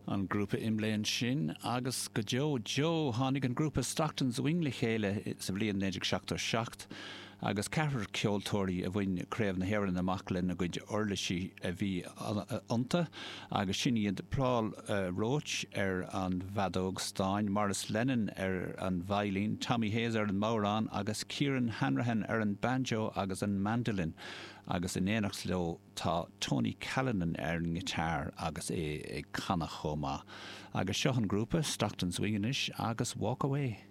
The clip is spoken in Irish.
An grúpa IMLÉ ansin agus go deo deo tháinig an grúpa Stockton's Wing le chéile sa bhliain 1977 agus ceathrar ceoltóirí a bhain Craobh na hÉireann amach lena gcuid uirlisí a bhí iontu agus sin iad Paul Roche ar an bhfeadóg stáin, Maurice Lennon ar an veidhlín, Tommy Hayes ar an mbodhrán agus Kieran Hanrahan ar an banjo agus an mandolin agus in éineacht leo Tá Tony Callinan ar an ngiotár agus é ag canadh chomh maith. Agus seo an grúpa, Stockton's Wing anois agus Walk Away.